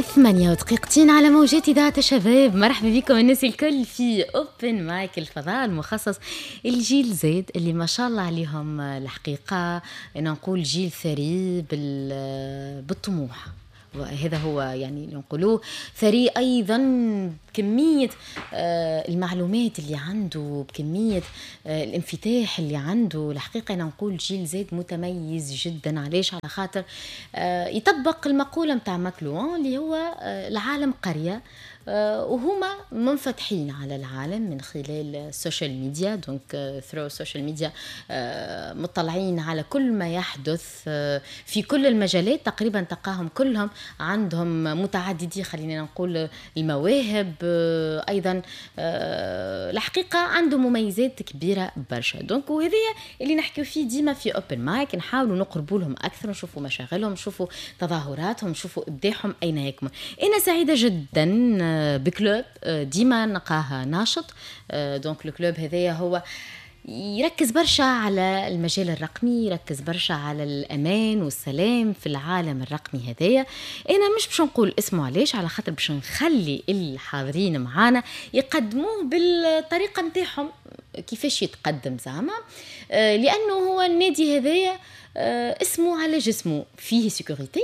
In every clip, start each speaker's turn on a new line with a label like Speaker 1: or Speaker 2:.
Speaker 1: 8 ودقيقتين على موجات إذاعة الشباب. مرحبا بكم الناس الكل في Open Mic، الفضاء المخصص الجيل Z اللي ما شاء الله عليهم. الحقيقة أنا نقول جيل ثري بالطموح، وهذا هو يعني اللي نقولوه، ثري ايضا بكمية المعلومات اللي عنده، بكمية الانفتاح اللي عنده. الحقيقة انا نقول جيل Z متميز جدا. علاش؟ على خاطر يطبق المقولة نتاع ماكلوان اللي هو العالم قريه، وهما منفتحين على العالم من خلال ال social media، donc through ال social media مطلعين على كل ما يحدث في كل المجالات تقريبا. تلقاهم كلهم عندهم متعددي، خلينا نقول، المواهب. ايضا الحقيقة عنده مميزات كبيرة برشا. donc وهذه اللي نحكيو فيه ديما في Open Mic، نحاولوا نقربوا لهم اكثر، نشوفوا مشاغلهم، نشوفوا تظاهراتهم، نشوفوا ابداعهم اين يكمن. انا سعيدة جدا ب club ديما نلقاه ناشط. donc ال club هذايا هو يركز برشا على المجال الرقمي، يركز برشا على الامان والسلام في العالم الرقمي هذايا. انا مش باش نقول اسمه، علاش؟ على خاطر باش نخلي الحاضرين معانا يقدموه بالطريقة نتاعهم، كيفاش يتقدم زعما، لانه هو النادي هذايا اسمه على جسمه، فيه sécurité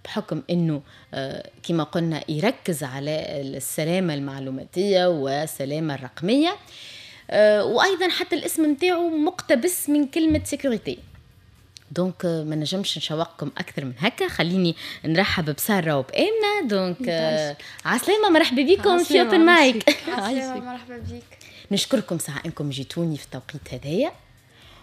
Speaker 1: بحكم انه كما قلنا يركز على السلامة المعلوماتيه والسلامة الرقميه، وايضا حتى الاسم نتاعو مقتبس من كلمة sécurité. donc ما نجمش نشوقكم اكثر من هكا، خليني نرحب بساره وبامنه. donc عسلامه، مرحبا بكم في Open Mic.
Speaker 2: مرحبا بك.
Speaker 1: نشكركم ساعة انكم جيتوني في التوقيت هذايا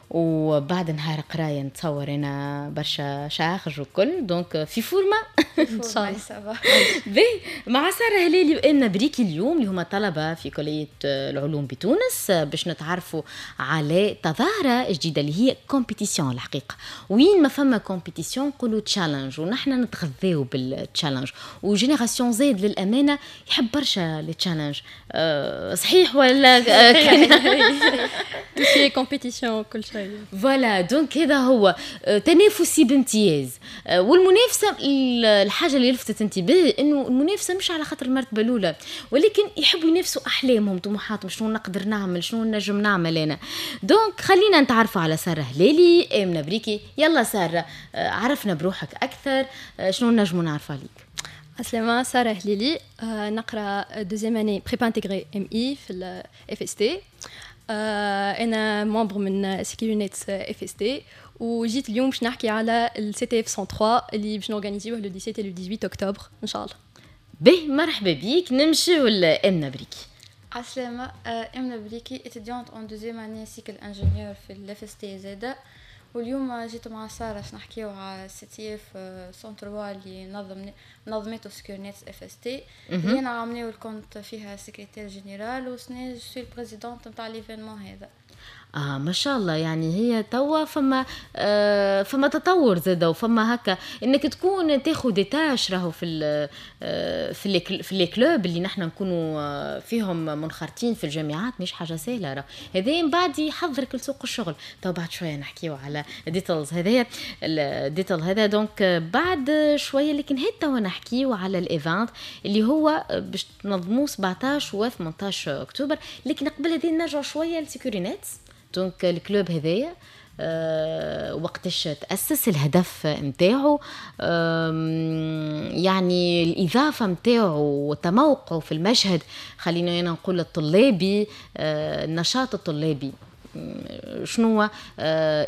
Speaker 1: وبعد نهار قرايه، نتصور انا برشا charge وكل، donc في forme.
Speaker 2: ان شاء الله.
Speaker 1: باهي، مع ساره هلالي وامنه بريكي اليوم، اللي هما طلبه في كليه العلوم بتونس، باش نتعرفوا على تظاهرة جديدة اللي هي compétition. الحقيقة وين ما فما compétition نقولوا challenge، ونحن نتغذاو بال challenge، و génération Z للامانة يحب برشا les challenges. صحيح ولا؟
Speaker 2: في compétition كل شيء.
Speaker 1: voilà، donc هذا هو تنافسي بامتياز. والمنافسه، الحاجة اللي لفتت انتباهي انه المنافسة مش على خاطر المرتبة الاولى، ولكن يحبوا ينافسوا احلامهم، طموحاتهم، شنو نقدر نعمل، شنو نجم نعمل انا. donc خلينا نتعرفوا على ساره هلالي، امنه بريكي. يلا ساره، عرفنا بروحك اكثر، شنو نجموا نعرفوا عليك؟
Speaker 2: عسلامة، سارة هليلي، نقرا deuxième année prépa intégrée MI في ال FST. انا membre من Securinets FST، وجيت اليوم باش نحكي على ال CTF 103 اللي باش نورغانيزيوه le 17 le 18 اكتوبر ان شاء الله.
Speaker 1: به، مرحبا بيك. نمشيو لامنه بريكي.
Speaker 3: عسلامة، امنة بريكي، étudiante en deuxième année cycle ingénieur في ال FST زادا، واليوم جيت مع سارة باش نحكيو على CTF 103 اللي نظمته Securinets FST، اللي انا عامناول كنت فيها secrétaire général وسنة je suis présidente نتاع l'événement هذا.
Speaker 1: اه ما شاء الله، يعني هي توا فما تطور زاده، وفما هكا انك تكون تاخذ des tâches راهو في les clubs اللي نحن نكونوا فيهم منخرطين في الجامعات مش حاجة سهله. راه هذا من بعد يحضرك لسوق الشغل. تو بعد شوية نحكيو على details هذايا، ال detail هذا donc بعد شويه، لكن هات توا نحكيو على ال event اللي هو باش تنظموه 17 و 18 اكتوبر. لكن قبل هذه نرجع شوية ل Securinets. donc ال club هذايا وقتاش تأسس؟ الهدف نتاعو، يعني الإضافة نتاعو وتموقعه في المشهد، خلينا أنا نقول الطلابي، النشاط الطلابي، شنو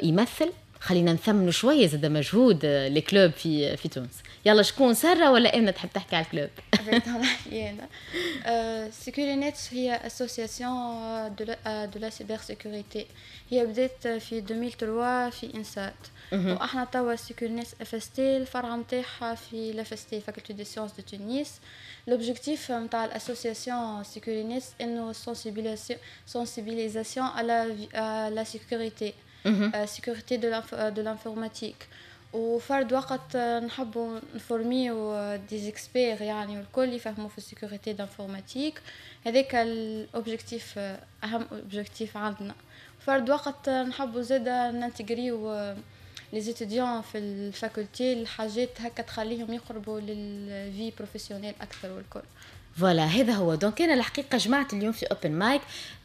Speaker 1: يمثل؟ خلينا نثمنوا شوية زاد مجهود ال club في تونس. يلا شكون، ساره ولا امنه، تحب تحكي على ال club؟
Speaker 3: انا. Securinets هي association de la cybersécurité، هي بدات في 2003 في INSAT، واحنا توا Securinets FST الفرع نتاعها في ال FST، Faculté des sciences de Tunis. l'objectif نتاع ال association Securinets انه sensibilisation على la sécurité، sécurité de l'informatique، وفرد وقت نحبوا نفورميو des experts، يعني والكل يفهموا في ال sécurité d'informatique. هذاك ال objectif، اهم objectif عندنا. فرد وقت نحبوا زادا ننتجريو les étudiants في ال faculté، الحاجات هكا تخليهم يقربوا لل vie professionnelle اكثر والكل.
Speaker 1: voilà، هذا هو. donc انا الحقيقة جمعت اليوم في open mic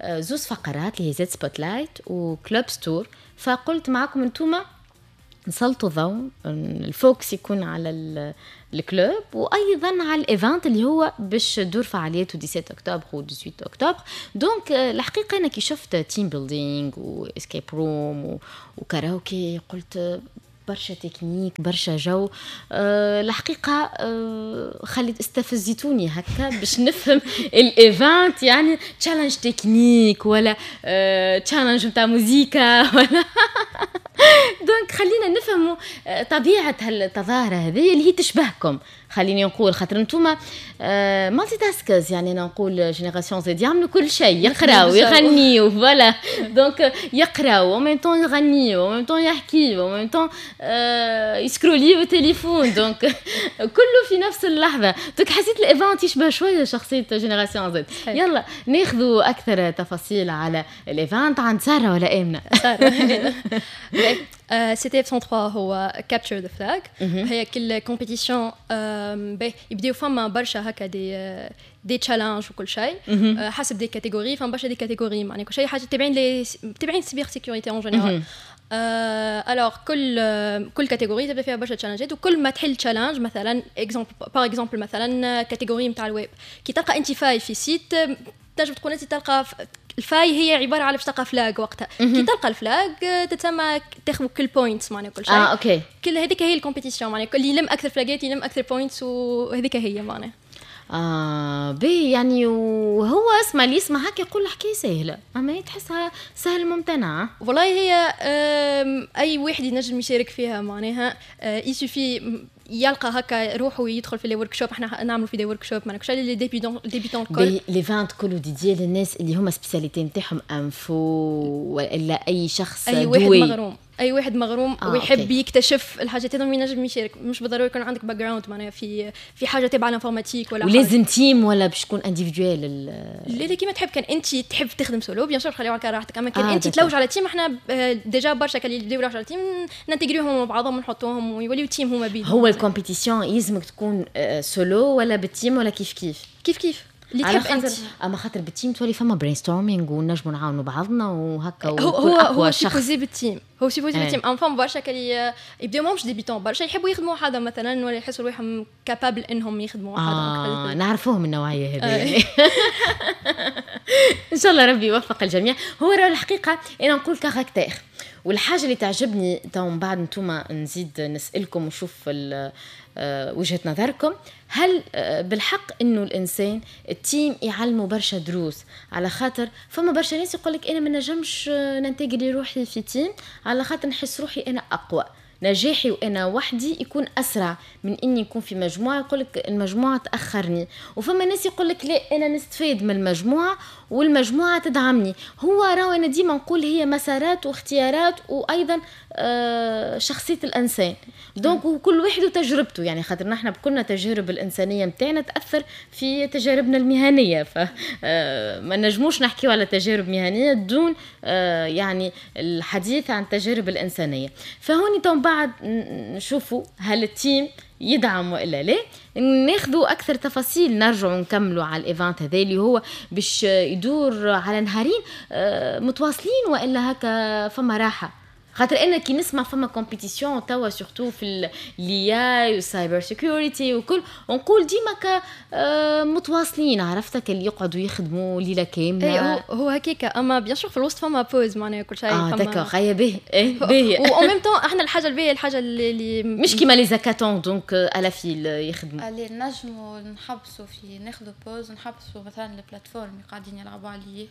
Speaker 1: زوز فقرات اللي هي Z Spotlight و Clubs Tour، فقلت معكم انتوما نسلطوا ضوء، ال focus يكون على ال club وايضا على ال event اللي هو باش تدور فعالياته 17 اكتوبر و 18 اكتوبر. donc الحقيقة انا كي شفت team building و escape room وكاراوكي قلت برشا تكنيك، برشا جو. الحقيقة خليت استفزتوني هكا باش نفهم ال event، يعني challenge technique ولا challenge نتاع موزيكا ولا. donc خلينا نفهموا طبيعة هالتظاهره هذه اللي هي تشبهكم، خليني نقول خاطر انتوما multitaskers، يعني انا نقول génération Z يعملوا كل شيء، يقراو، يغنيو، voilà. donc يقراو و même temps يغنيو و même temps يحكيو و même temps يسكروليو التليفون، donc كله في نفس اللحظه. donc حسيت ال event يشبه شوية شخصية génération Z. يلا ناخذوا اكثر تفاصيل على ال event عند ساره ولا امنه؟
Speaker 2: ساره. CTF 103 هو capture the flag، هي كل compétition يبداو فما برشا هكا des challenges وكل شيء حسب des catégories، فما برشا des catégories، معناها كل شيء حاجة تابعين les تابعين cybersécurité en général. alors كل catégorie تبدا فيها برشا challengeات، وكل ما تحل challenge، مثلا exemple par exemple مثلا catégorie نتاع الويب، كي تلقى انت faille في site تنجم تكون انت تلقى ال faille، هي عبارة على باش تلقى flag. وقتها كي تلقى ال flag تتسمى تاخذ كل points، معناها كل شيء.
Speaker 1: اه okay.
Speaker 2: كل هذيك هي ال compétition، معناها كل يلم اكثر flagات يلم اكثر points، وهذيك هي معناها.
Speaker 1: اه باهي، يعني وهو اسمع، اللي يسمع هكا يقول الحكاية سهله، اما هي تحسها سهل ممتنعه.
Speaker 2: والله هي اي واحد ينجم يشارك فيها، معناها il suffit يلقى هكا روحه ويدخل في les workshops. احنا نعملوا في des workshops، معناها كل les débutants الكل.
Speaker 1: l'event كله dédié للناس اللي هما spécialité نتاعهم info والا اي شخص؟
Speaker 2: اي واحد مغروم، اي واحد مغروم ويحب يكتشف الحاجات هذوما ينجم يشارك. مش بالضروري يكون عندك background معناها في حاجة تبع l'informatique ولا
Speaker 1: ولازم team ولا باش تكون individuel؟
Speaker 2: لا لا، كيما تحب. كان انت تحب تخدم solo bien sûr خليها على راحتك، اما كان انت تلوج على team، احنا déjà برشا كان اللي يبداو على team ننتجريهم مع بعضهم ونحطوهم ويوليو team هما بيدهم.
Speaker 1: هو ال compétition يلزمك تكون سولو ولا بال team ولا كيف كيف؟
Speaker 2: كيف كيف، اللي تحب انت.
Speaker 1: اما خاطر بال team تولي فما brainstorming ونجموا نعاونوا بعضنا وهكا.
Speaker 2: هو هو هو supposé بال team، هو supposé بال team، اما فما برشا كلي يبداو ماهمش débutants، برشا يحبوا يخدموا وحدهم مثلا ولا يحسوا روحهم capables انهم يخدموا وحدهم.
Speaker 1: نعرفوهم النوعية هذه. ان شاء الله ربي يوفق الجميع. هو راه الحقيقة انا نقول caractère، والحاجة اللي تعجبني تو من بعد انتم نزيد نسالكم ونشوف وجهه نظركم، هل بالحق انه الانسان ال team يعلمه برشا دروس؟ على خاطر فما برشا ناس يقول لك انا ما نجمش ننتجري روحي في team على خاطر نحس روحي انا اقوى، نجاحي وانا وحدي يكون اسرع من اني يكون في مجموعه، يقول لك المجموعة تاخرني. وفما ناس يقول لك لا، انا نستفيد من المجموعة والمجموعة تدعمني. هو راهو انا ديما نقول هي مسارات واختيارات وايضا شخصية الانسان، donc كل واحد وتجربته، يعني خاطر نحن بكلنا تجارب الانسانية نتاعنا تاثر في تجاربنا المهنيه، ف ما نجموش نحكيو على تجارب مهنية دون يعني الحديث عن التجارب الانسانيه. فهوني تو بعد نشوفوا هل ال team يدعم والا لا. ناخذوا اكثر تفاصيل، نرجعوا نكملوا على ال event هذا اللي هو باش يدور على نهارين متواصلين والا هكا فما راحه؟ خاطر انا كي نسمع فما compétition توا surtout في l'IA وال cybersécurité وكل، ونقول ديما ك متواصلين، عرفتك اللي يقعدوا يخدموا ليلة كامله.
Speaker 2: اي هو هكاك، اما bien sûr في الوسط فما pause، معناها كل شيء.
Speaker 1: اه d'accord، هيا باهي، ايه باهي.
Speaker 2: و en même temps احنا الحاجة الباهيه، الحاجة اللي
Speaker 1: مش كيما les hackathons donc à la file يخدموا.
Speaker 3: اللي نجموا نحبسوا في ناخذوا pause، نحبسوا مثلا ال plateforme اللي قاعدين يلعبوا عليه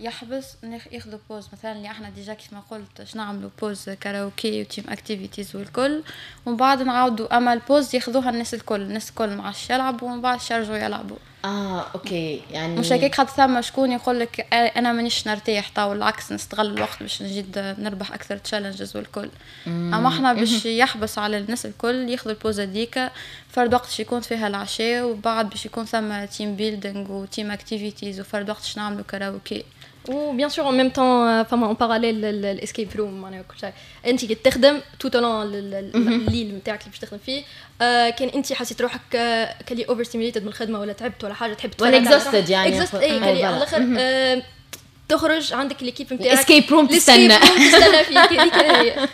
Speaker 3: يحبس، ياخذوا pause. مثلا اللي احنا déjà كيف ما قلت باش نعملوا pause karaoké و team activities والكل، ومن بعد نعاودوا، اما ال pause ياخذوها الناس الكل، الناس الكل ما عادش يلعبوا ومن بعد يرجعوا يلعبوا.
Speaker 1: اه okay، يعني
Speaker 3: مش هكاك، خاطر ثم شكون يقول لك انا مانيش نرتاح تو، العكس نستغل الوقت باش نزيد نربح اكثر challenges والكل. اما احنا باش يحبس على الناس الكل ياخذوا ال pause هذيك، فرد وقت يكون فيها العشاء، وبعد باش يكون ثم team building و team activities، وفرد وقت باش نعملوا كاراوكي.
Speaker 2: و bien sûr en même temps فما en parallèle ال escape room، معناها كل شيء انت كي تخدم tout au long الليل نتاعك اللي باش تخدم فيه، كان انت حسيت روحك كلي overstimulated من الخدمة ولا تعبت ولا حاجة تحب
Speaker 1: ولا exhausted يعني
Speaker 2: exhausted، اي كلي على الاخر، تخرج عندك l'équipe نتاعك
Speaker 1: escape room تستنى
Speaker 2: تستنى فيك، هذيك هي.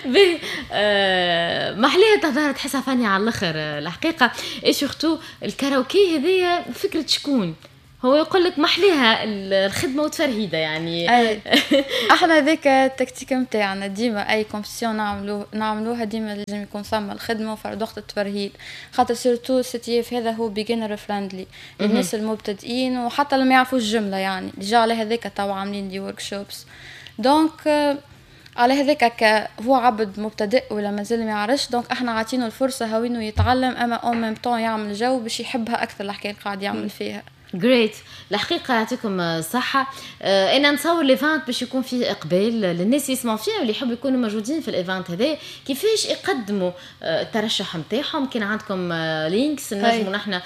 Speaker 1: باهي، محليها تظاهر تحسها funny على الاخر الحقيقه. et surtout الكاراوكي هذيا فكرة شكون؟ هو يقول لك محليها الخدمة وتفرهيده يعني.
Speaker 3: أي. احنا ذاك التكتيك نتاعنا ديما، اي compétition نعملوها ديما لازم يكون ثم الخدمة وفرد وقت التفرهيد، خاطر surtout CTF هذا هو beginner friendly للناس المبتدئين وحتى اللي ما يعرفوش الجمله، يعني déjà على هذاك تو عاملين des workshops. donc على هذاك هو عبد مبتدئ ولا مازال ما يعرفش، donc احنا عاطينه الفرصة هاوينه يتعلم، اما en même temps يعمل جو باش يحبها اكثر الحكاية اللي قاعد يعمل فيها.
Speaker 1: great، الحقيقة يعطيكم صحه. انا نتصور l'event باش يكون فيه اقبال للناس اللي يسمعوا فيه واللي يحبوا يكونوا موجودين في ال event هذا، كيفاش يقدموا الترشح نتاعهم؟ كان عندكم links نجموا نحن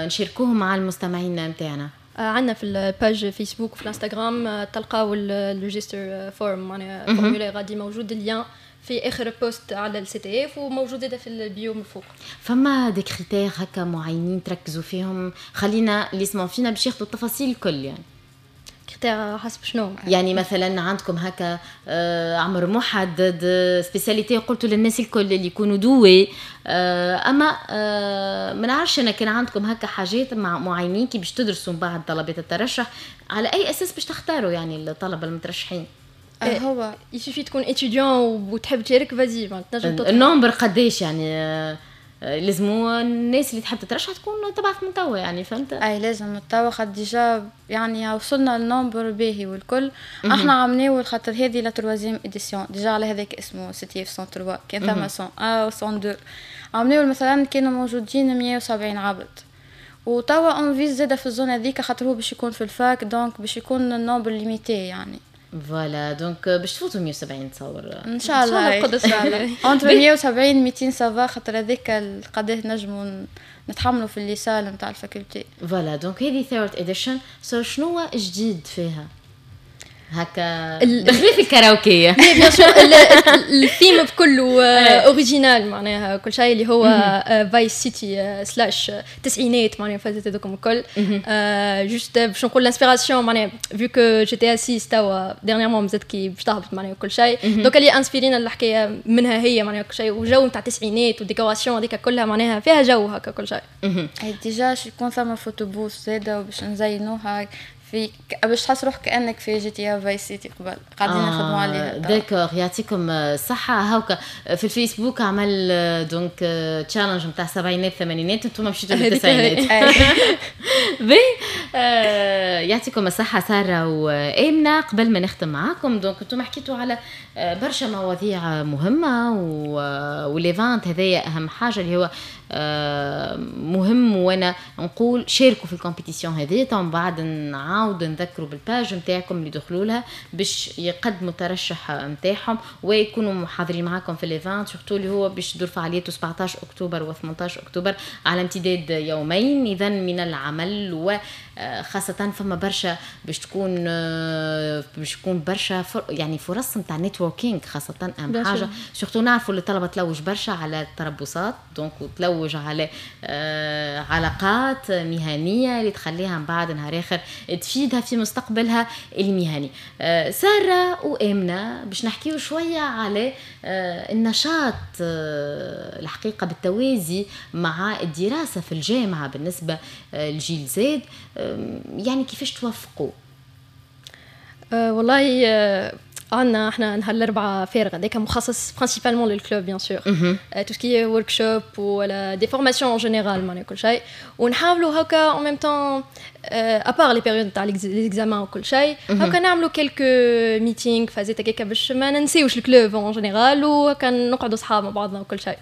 Speaker 1: نشاركوهم مع المستمعين نتاعنا.
Speaker 2: عندنا في ال page فيسبوك وفي الانستغرام تلقاو ال register form، معناها formulaire غادي موجود ال lien في اخر post على ال CTF وموجود في ال bio من فوق.
Speaker 1: فما des critères هكا معينين تركزوا فيهم؟ خلينا اللي يسمعوا فينا باش ياخذوا التفاصيل الكل يعني.
Speaker 2: critères حسب شنو؟
Speaker 1: يعني مثلا عندكم هكا عمر محدد، spécialité، قلتوا للناس الكل اللي يكونوا doués، اما ما نعرفش انا كان عندكم هكا حاجات مع معينين كي باش تدرسوا من بعد طلبات الترشح، على اي اساس باش تختاروا يعني الطلبة المترشحين؟
Speaker 3: هو
Speaker 2: il suffit تكون étudiant وتحب تشارك، vas-y
Speaker 1: تنجم. ال nombre قداش يعني؟ لازمو الناس اللي تحب تترشح تكون تبعث من توا يعني، فهمت؟
Speaker 3: اي لازم من توا، خاطر déjà يعني وصلنا ال nombre باهي والكل. احنا عملناه خاطر هذه la troisième édition déjà، على هذاك اسمه CTF 103، كان ثم 101 و 102. عملناه مثلا كانوا موجودين 170 عبد، وتوا on vise زاده في ال zone هذيك، خاطر هو باش يكون في ال fac، donc باش يكون ال nombre limité يعني.
Speaker 1: voilà، donc باش تفوتوا 170 تصور.
Speaker 3: ان شاء الله، ان شاء الله entre 170 200 ça va، خاطر هذاك قداه نجموا نتحملوا في les salles نتاع ال faculté.
Speaker 1: voilà، donc هذه third edition، so شنو جديد فيها هكا بخلاف الكاراوكي؟
Speaker 2: bien sûr ال thème بكله original، معناها كل شيء اللي هو Vice City slash تسعينات، معناها فازت هذوكم الكل. juste باش نقول l'inspiration، معناها vu que GTA 6 توا dernièrement مازالت كي باش تهبط، معناها كل شيء، donc اللي inspirينا الحكاية منها هي، معناها كل شيء وجو نتاع التسعينات و décoration هذيك كلها معناها فيها جو هكا كل شيء.
Speaker 3: déjà يكون ثم photo booth زاده وباش نزينوها في باش تحس روحك كانك في GTA Vice City قبل، قاعدين نخدموا عليها.
Speaker 1: d'accord، يعطيكم الصحة. هاوكا في الفيسبوك عمل donc challenge نتاع السبعينات الثمانينات، انتم مشيتوا للتسعينات. باهي، يعطيكم الصحة سارة وآمنة. قبل ما نختم معاكم، donc انتم حكيتوا على برشا مواضيع مهمة و l'event هذايا أهم حاجة اللي هو مهم، وانا نقول شاركوا في ال compétition هذه. من بعد نعاود نذكروا بال page نتاعكم اللي دخلوا لها باش يقدموا الترشح نتاعهم ويكونوا محاضرين معاكم في l'event، surtout اللي هو باش تدور فعاليته 17 اكتوبر و18 اكتوبر على امتداد يومين اذا من العمل، وخاصة فما برشا باش تكون برشا يعني فرص نتاع networking، خاصة اهم حاجه، surtout نعرفوا اللي الطلبة تلوج برشا على التربصات، donc وتلوج على علاقات مهنية اللي تخليها من بعد نهار اخر تفيدها في مستقبلها المهني. ساره وامنه، باش نحكيو شوية على النشاط الحقيقة بالتوازي مع الدراسة في الجامعة بالنسبة لجيل زاد، يعني كيفاش توفقوا؟
Speaker 2: والله عندنا احنا نهار الاربعاء فارغ، هذاك مخصص principalement لل club bien sûr، tout ce qui est workshop ولا des formations en général، معناها كل شيء، ونحاولوا هكا en même temps à part les périodes تاع les examens وكل شيء هكا نعملوا quelques meetings فازات هكاك باش ما ننسيوش ال club en général وهكا نقعدوا صحاب مع بعضنا وكل شيء.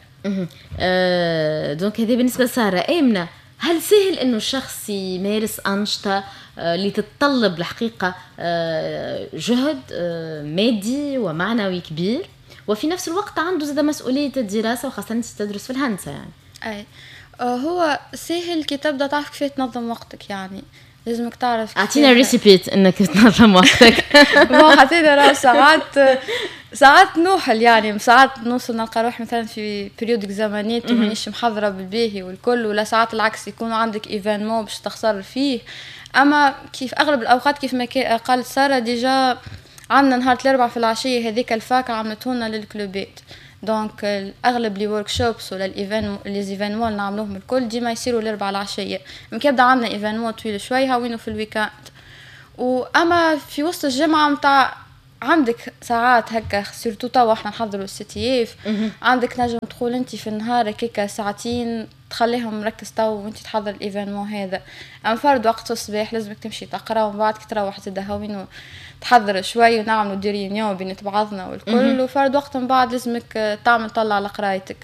Speaker 1: donc هذه بالنسبة لساره. امنه، هل سهل انه الشخص يمارس انشطة اللي تتطلب الحقيقة جهد مادي ومعنوي كبير وفي نفس الوقت عنده زاد مسؤولية الدراسه، وخاصة انت تدرس في الهندسة يعني؟
Speaker 3: اي، هو سهل كي تبدا تعرف كيف تنظم وقتك يعني. لازمك تعرف.
Speaker 1: اعطينا recipe انك تنظم وقتك.
Speaker 3: bon حتى راه ساعات نوحل، يعني ساعات نوصل نلقى روحي مثلا في période examen ات ومانيش محضرة بالباهي والكل، ولا ساعات العكس يكون عندك événement باش تخسر فيه. اما كيف اغلب الاوقات كيف ما قالت ساره déjà عندنا نهار الاربعاء في العشية هذيك ال fac عملتونا لل club ات، donc اغلب les workshops ولا les événements نعملوهم الكل ديما يصيروا الاربعاء العشية. كي يبدا عندنا événement طويل شوي هاوينو في ال week-end. واما في وسط الجمعة نتاع عندك ساعات هكا surtout توا احنا نحضروا ال CTF، عندك نجم تقول انت في النهار هكاكا ساعتين تخليهم مركز تو وانت تحضر ال événement هذا. اما فرد وقت الصباح لازمك تمشي تقرا، ومن بعد كي تروح زاد هاوين تحضر شوي ونعملوا des réunions بين بعضنا والكل، وفرد وقت من بعد لازمك تعمل طلع على قرايتك.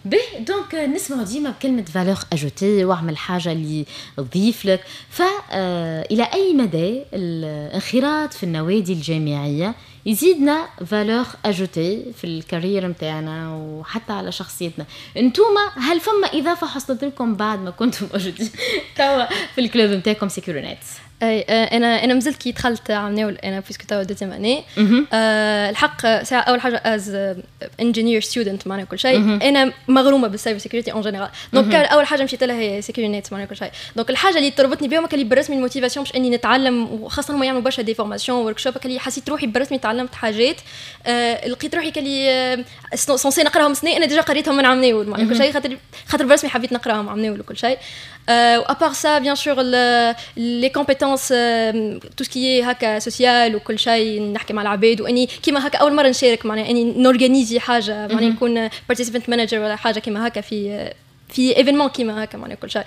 Speaker 1: به donc نسمع ديما بكلمة valeur ajoutée واعمل حاجة اللي تضيف لك، فإلى أي مدى الانخراط في النوادي الجامعية يزيدنا valeur ajoutée في ال carrière نتاعنا وحتى على شخصيتنا؟ انتوما هل فما إضافة حصلت لكم بعد ما كنتم موجودين توا في ال club نتاعكم Securinets؟
Speaker 2: اي انا مازلت كي دخلت عمناول انا puisque توا deuxième année. الحق ساعة اول حاجة as engineer student معناها كل شيء، انا مغرومه بال cyber security en général، donc اول حاجة مشيت لها هي Securinets معناها كل شيء. donc الحاجة اللي تربطني بهم كان بالرسمي ال motivation باش اني نتعلم، وخاصة هما يعملوا برشا des formations workshop، اللي حسيت روحي بالرسمي تعلمت حاجات لقيت روحي كلي censé نقراهم سنة انا déjà قريتهم من عمناول معناها كل شيء، خاطر بالرسمي حبيت نقراهم عمناول وكل شيء. à part ça bien sûr les compétences tout ce qui est هكا social وكل شيء، نحكي مع العباد واني كيما هكا اول مرة نشارك معناها اني ن organiser حاجة معناها نكون participant manager ولا حاجة كيما هكا في événement كيما هكا معناها كل شيء.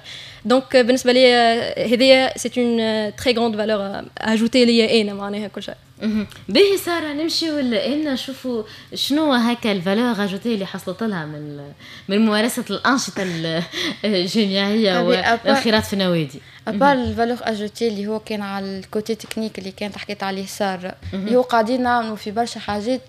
Speaker 2: donc بالنسبة لي هذه c'est une très grande valeur ajoutée ليا انا معناها كل شيء.
Speaker 1: باهي ساره، نمشيو لنا نشوفوا شنو هكا ال valeur ajoutée اللي حصلت لها من ممارسة الانشطة الجامعية والانخراط في النوادي.
Speaker 3: à part ال valeur ajoutée اللي هو كان على ال côté technique اللي كانت حكيت عليه ساره، اللي هو قاعدين نعملوا في برشا حاجات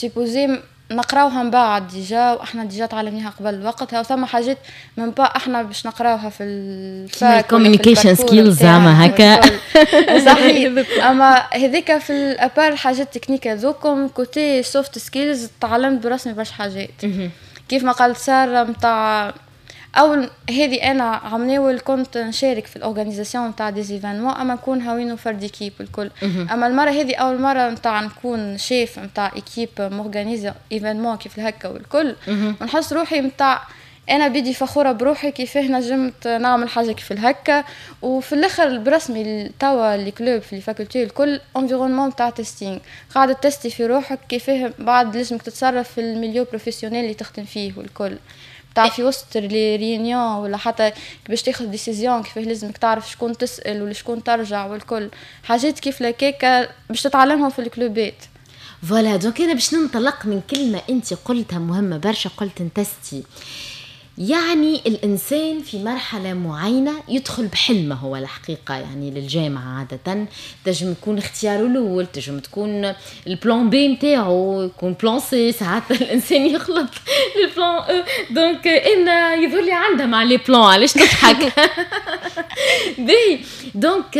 Speaker 3: supposé نقراوها من بعد déjà، واحنا déjà تعلمناها قبل وقتها، وثم حاجات même pas احنا باش نقراوها في ال fac
Speaker 1: communication skills زعما هكا.
Speaker 3: صحيح، اما هذيك في à part الحاجات ال techniques هذوكم côté soft skills تعلمت برسمي برشا حاجات كيف ما قالت ساره نتاع اول هذه. انا عمناول كنت نشارك في ال organisation نتاع des événements، اما نكون هاوينو فرد équipe الكل. اما المرة هذه اول مرة نتاع نكون شيف نتاع équipe م organiser événement كيف هكا والكل، ونحس روحي نتاع انا بيدي فخورة بروحي كيفاه نجمت نعمل حاجة كيف الهكا. وفي الاخر برسمي توا les clubs في les facultés الكل environnement تاع testing، قاعدة tester في روحك كيفاه بعد لازمك تتصرف في ال milieu professionnel اللي تخدم فيه والكل، تاع في وسط les réunions ولا حتى باش تاخذ décision كيفاه لازمك تعرف شكون تسال ولا شكون ترجع والكل، حاجات كيف لكيكا باش تتعلمهم في ال club ات.
Speaker 1: voilà، donc انا باش ننطلق من كلمة انت قلتها مهمة برشا، قلت ن tester. يعني الإنسان في مرحلة معينة يدخل بحلمه هو الحقيقة، يعني للجامعة عادة تنجم يكون اختياره الأول، تنجم تكون ال plan B نتاعو، يكون plan C، ساعات الإنسان يخلط ال plan E. donc إن يظهر لي عندها مع les plans، علاش تضحك؟ باهي، donc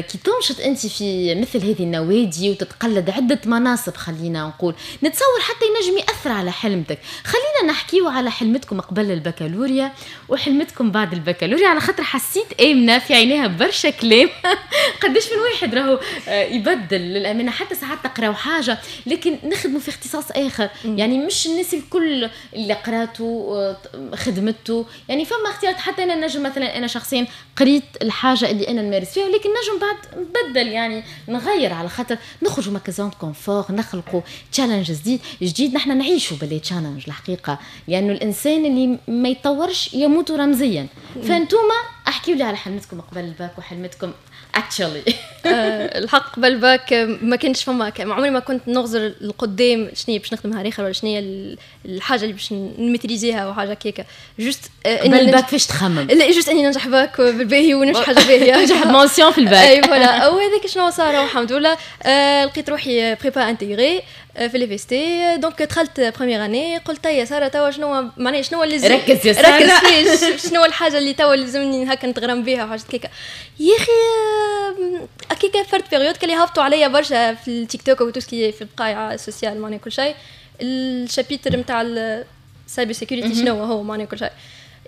Speaker 1: كي تنشط أنت في مثل هذه النوادي وتتقلد عدة مناصب، خلينا نقول نتصور حتى ينجم يأثر على حلمتك. خلينا نحكيو على حلمتكم قبل البكالوريا وحلمتكم بعد البكالوريا، على خاطر حسيت آمنة في عينيها برشا كلام. قداش من واحد راهو يبدل للأمانة، حتى ساعات تقراو حاجة لكن نخدموا في اختصاص آخر، يعني مش الناس الكل اللي قراته خدمته، يعني فما اختيارات. حتى أنا نجم مثلا أنا شخصيا قريت الحاجة اللي أنا نمارس فيها، ولكن نجم بعد نبدل، يعني نغير، على خاطر نخرجوا من zone confort، نخلقوا challenge جديد، نحن نعيشوا ب les challenges الحقيقة، لأنه يعني الإنسان اللي ما يتطورش يموت رمزيا. فانتوما احكيوا لي على حلمتكم قبل الباك وحلمتكم actually.
Speaker 2: الحق قبل الباك ما كانش فما، عمري ما كنت نغزر القدام شنو باش نخدم نهار اخر ولا شنو الحاجة اللي باش ن maîtriser ها وحاجه كيكا.
Speaker 1: juste قبل الباك فاش تخمم؟
Speaker 2: لا، juste اني ننجح باك بالباهي ونمشي حاجة باهيه.
Speaker 1: ننجح ب mention في الباك.
Speaker 2: اي voilà، وهذاك شنو صار والحمد لله. لقيت روحي prépa intégrée. في ال FST. donc دخلت première année، قلت يا ساره توا شنو معناها، شنو اللي
Speaker 1: ركز يا ساره،
Speaker 2: ركز، شنو الحاجة اللي توا لازمني هكا نتغرم بها وحاجات كيكا. يا اخي هكاكا فرد période كان يهبطوا عليا برشا في التيك توك و tout ce qui في البقايع ال social، معناها كل شيء، ال chapitre نتاع ال cyber security شنو هو معناها كل شيء.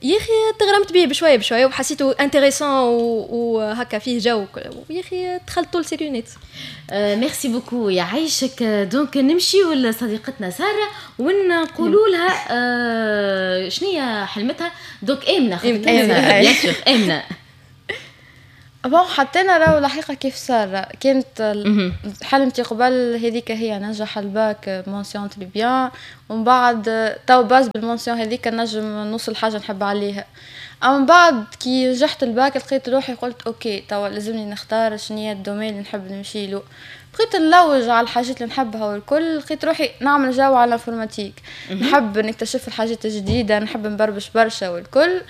Speaker 2: يا اخي تغرمت به بشوية بشوية وحسيته intéressant وهكا فيه جو، يا اخي دخلت طول Secunet.
Speaker 1: merci beaucoup، يعيشك. donc نمشيو لصديقتنا ساره ونقولوا لها شنو هي حلمتها. donc امنه، bien sûr امنه.
Speaker 3: bon، حتى انا راهو الحقيقة كيف ساره، كانت حلمتي قبل هذيك هي ننجح ال bac mention très bien، ومن بعد تو base بال mention هذيك نجم نوصل حاجة نحب عليها. اما من بعد كي نجحت الباك لقيت روحي قلت OK، توا لازمني نختار شنو هي ال domaine اللي نحب نمشي له. بقيت نلوج على الحاجات اللي نحبها والكل، لقيت روحي نعمل جو على l'informatique، نحب نكتشف الحاجات الجديده، نحب نبربش برشا والكل.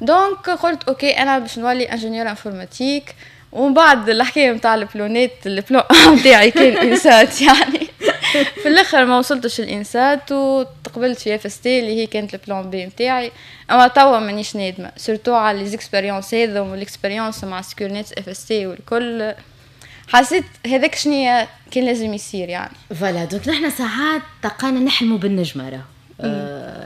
Speaker 3: donc قلت OK، انا باش نولي ingénieur informatique. ومن بعد الحكاية نتاع البلونات، ال plan نتاعي كان INSAT، يعني في الاخر ما وصلتش ال INSAT وتقبلت في FST اللي هي كانت ال plan B نتاعي. اما توا مانيش نادمه، surtout على les expériences هذا وال expérience مع Secunet FST والكل، حسيت هذاك شنو كان لازم يصير يعني.
Speaker 1: voilà، donc نحن ساعات تلقانا نحلموا بالنجمه راه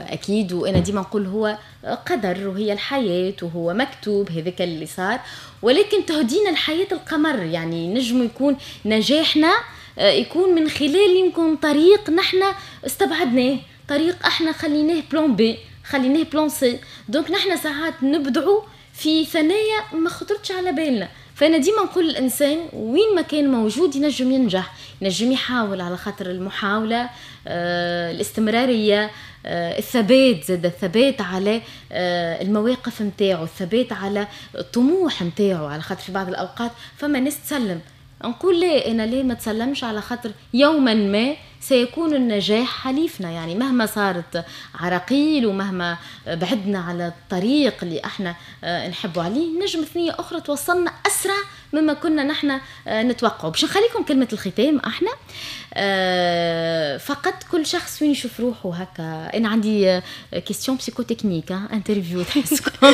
Speaker 1: اكيد، وانا ديما نقول هو قدر وهي الحياة وهو مكتوب هذاك اللي صار، ولكن تهدينا الحياة القمر، يعني نجم يكون نجاحنا يكون من خلال يمكن طريق نحن استبعدناه، طريق احنا خليناه plan B، خليناه plan C. donc نحن ساعات نبدعوا في ثنايا ما خطرتش على بالنا. فانا ديما نقول الانسان وين ما كان موجود ينجم ينجح، ينجم يحاول، على خاطر المحاوله، الاستمراريه، الثبات، زاد الثبات على المواقف نتاعو، الثبات على الطموح نتاعو، على خاطر في بعض الاوقات فما ناس تسلم. نقول لا، انا ليه ما تسلمش؟ على خاطر يوما ما سيكون النجاح حليفنا، يعني مهما صارت عراقيل ومهما بعدنا على الطريق اللي احنا نحبوا عليه، نجم ثنية اخرى توصلنا اسرع مما كنا نحن نتوقع. باش نخليكم كلمة الختام احنا فقط، كل شخص وين يشوف روحه هكا. انا عندي question psychotechnique interview، تحسكم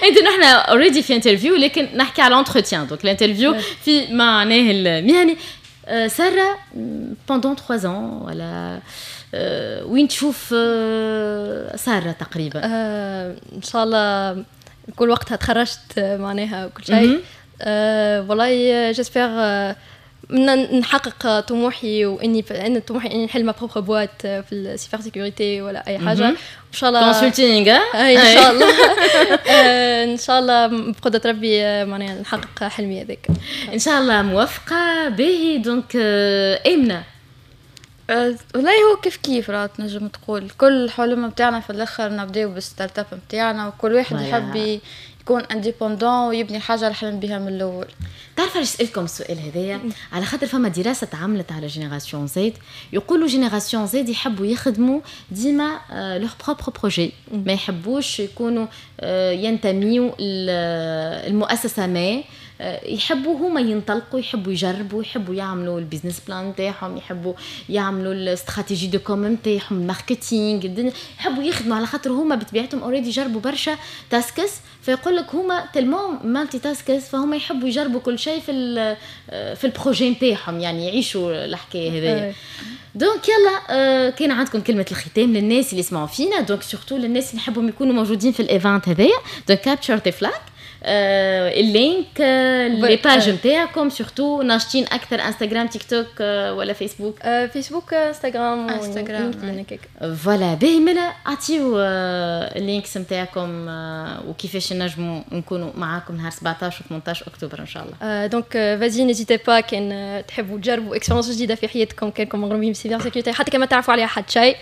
Speaker 1: انت نحن already في interview، لكن نحكي على l'entretien، donc l'interview في معناه المهني. سارة، pendant 3 ans ولا وين تشوف سارة تقريبا؟
Speaker 2: ان شاء الله كل وقتها تخرجت معناها كل شيء، والله j'espère نحقق طموحي، واني ان طموحي اني نحل ma propre boîte في ال cybersécurité ولا اي حاجة ان شاء الله.
Speaker 1: consulting.
Speaker 2: ان شاء الله، ان شاء الله بقدره ربي معناها نحقق حلمي هذاك.
Speaker 1: ان شاء الله موفقه. باهي، donc امنه.
Speaker 3: والله هو كيف كيف، راه تنجم تقول كل حلم نتاعنا في الاخر نبداو بال startup نتاعنا، وكل واحد يحب يكون indépendant ويبني حاجة اللي حلم بها من الاول.
Speaker 1: تعرف علاش سالتكم السؤال هذايا؟ على خاطر فما دراسة تعملت على génération Z، يقولوا génération Z يحبوا يخدموا ديما leur propre projet، ما يحبوش يكونوا ينتميوا المؤسسه، ما يحبوا هما ينطلقوا، يحبوا يجربوا، يحبوا يعملوا ال business plan نتاعهم، يحبوا يعملوا ال stratégie de com نتاعهم، ال marketing، يحبوا يخدموا على خاطر هما بطبيعتهم already جربوا برشا tasks، فيقول لك هما tellement multitaskers، فهم يحبوا يجربوا كل شيء في ال projet نتاعهم، يعني يعيشوا الحكاية هذيا. donc يلا كان عندكم كلمة الختام للناس اللي يسمعوا فينا، donc surtout للناس اللي يحبوا يكونوا موجودين في ال event هذايا، donc capture the flag، ال link، les pages نتاعكم، surtout ناشطين اكثر انستغرام، تيك توك ولا فيسبوك؟
Speaker 2: فيسبوك، انستغرام.
Speaker 3: انستغرام.
Speaker 1: voilà، باهي، ملا اعطيو ال links نتاعكم وكيفاش نجموا نكونوا معاكم نهار 17 و 18 اكتوبر ان شاء
Speaker 2: الله. donc vas-y، n'hésitez pas كان تحبوا تجربوا expérience جديدة في حياتكم، كانكم مغرومين ب cybersécurité، حتى كما تعرفوا عليها حتى شيء،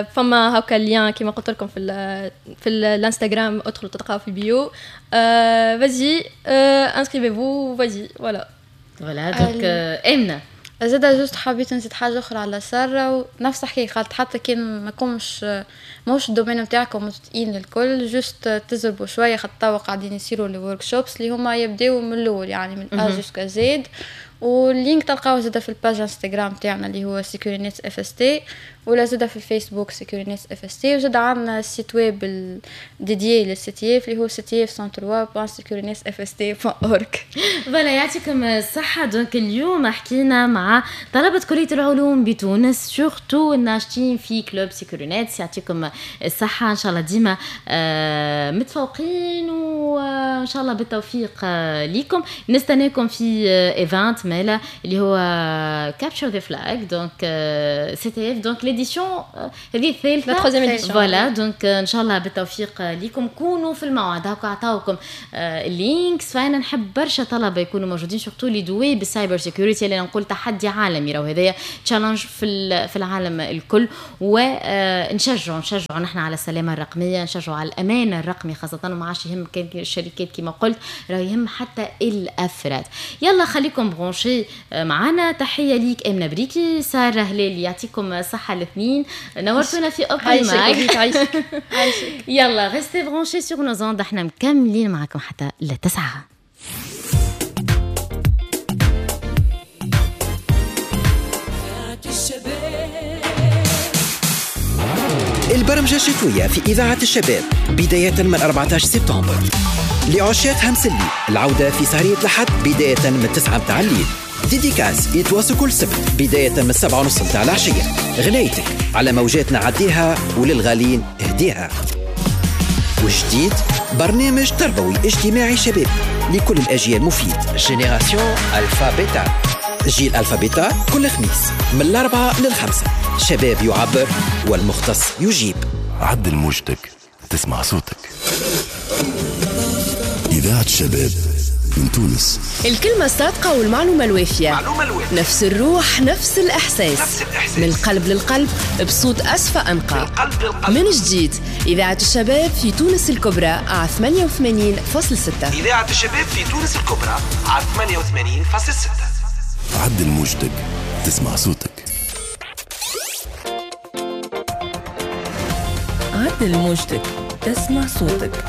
Speaker 2: فما هكا ال lien كيما قلت لكم في الانستغرام، ادخلوا تلقاو في ال bio. vas-y، inscrivez-vous، vas-y، voilà.
Speaker 1: voilà، donc امنه.
Speaker 3: زاد juste حبيت نزيد حاجة اخرى على ساره، ونفس الحكاية قالت، حتى كان ما كومش ماهوش ال domaine نتاعكم متفقين الكل، juste تزربوا شويه، خاطر توا قاعدين يصيروا les workshops اللي هما يبداو من الاول، يعني من A jusqu'à Z. وال link تلقاوه زاده في ال page انستغرام تاعنا اللي هو Securinets FST، ولا زاده في الفيسبوك Securinets FST. وزاده عندنا ال site web dédié لل CTF اللي هو CTF 103.securinetsfst.org.
Speaker 1: voilà يعطيكم الصحة. donc اليوم حكينا مع طلبة كلية العلوم بتونس، surtout الناشطين في club Securinets. يعطيكم الصحة، إن شاء الله ديما متفوقين، وإن شاء الله بالتوفيق ليكم. نستناكم في event مالا اللي هو capture the flag، donc CTF، donc l'édition هذه الثالثة، voilà. donc إن شاء الله بالتوفيق ليكم، كونوا في الموعد، هاكا عطاوكم ال links. فأنا نحب برشا طلبة يكونوا موجودين، surtout les doués بال cyber security اللي نقول تحدي عالمي، راهو هذايا challenge في العالم الكل. ونشجعوا نحن على السلامة الرقمية، نشجعوا على الأمان الرقمي خاصة، وما عادش يهم كان الشركات كما قلت، راه يهم حتى الأفراد. يلا خليكم branchés معنا. تحية ليك أمنة بريكي، سارة هلالي، يعطيكم الصحة الاثنين، نورتونا في Open Mic. يلا restez branchés sur nos ondes، احنا مكملين معكم حتى ل9.
Speaker 4: البرمجة الشتوية في إذاعة الشباب بداية من 14 سبتمبر. لعشاق همسلي العودة في سهرية الأحد بداية من 9 متاع الليل. dédicace يتواصل كل سبت بداية من 7:30 متاع العشية. غنايتك على موجاتنا عديها وللغالين اهديها. وجديد برنامج تربوي اجتماعي شباب لكل الأجيال مفيد، génération Alpha Bêta، جيل Alpha Bêta، كل خميس من 4 ل5. شباب يعبر والمختص يجيب.
Speaker 5: عدل موجتك تسمع صوتك. إذاعة الشباب من تونس.
Speaker 6: الكلمة الصادقة والمعلومة الوافية، نفس الروح، نفس الإحساس، من القلب للقلب، بصوت أصفى أنقى. من جديد إذاعة الشباب في تونس الكبرى على 88.6.
Speaker 7: إذاعة الشباب في تونس الكبرى على 88.6.
Speaker 5: عدل موجتك تسمع صوتك.
Speaker 8: عدل موجتك تسمع صوتك.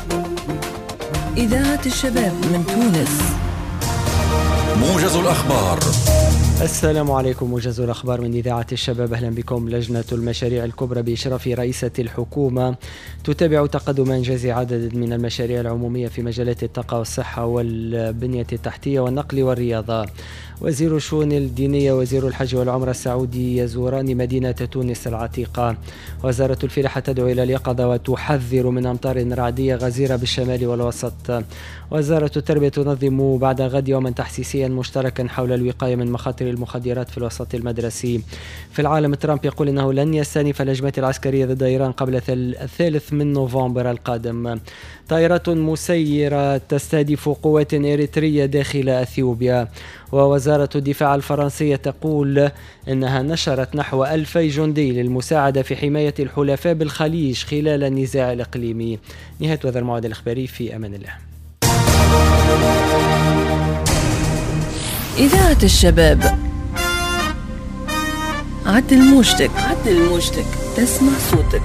Speaker 8: إذاعة الشباب من تونس.
Speaker 9: موجز الأخبار.
Speaker 10: السلام عليكم. موجز الأخبار من إذاعة الشباب، أهلا بكم. لجنة المشاريع الكبرى بإشراف رئيسة الحكومة تتابع تقدم إنجاز عدد من المشاريع العمومية في مجالات الطاقة والصحة والبنية التحتية والنقل والرياضة. وزير الشؤون الدينية وزير الحج والعمرة السعودي يزوران مدينة تونس العتيقة. وزارة الفلاحة تدعو إلى اليقظة وتحذر من أمطار رعدية غزيرة بالشمال والوسط. وزارة التربية تنظم بعد غد يوما تحسيسيا مشتركا حول الوقاية من مخاطر المخدرات في الوسط المدرسي. في العالم، ترامب يقول إنه لن يستأنف الهجمات العسكرية ضد إيران قبل 3 نوفمبر القادم. طائرات مسيرة تستهدف قوات إريترية داخل أثيوبيا. ووزارة الدفاع الفرنسية تقول إنها نشرت نحو 2000 جندي للمساعدة في حماية الحلفاء بالخليج خلال النزاع الإقليمي. نهاية هذا الموعد الإخباري، في أمان الله.
Speaker 8: إذاعة الشباب، عدل موجتك، عدل موجتك، تسمع صوتك.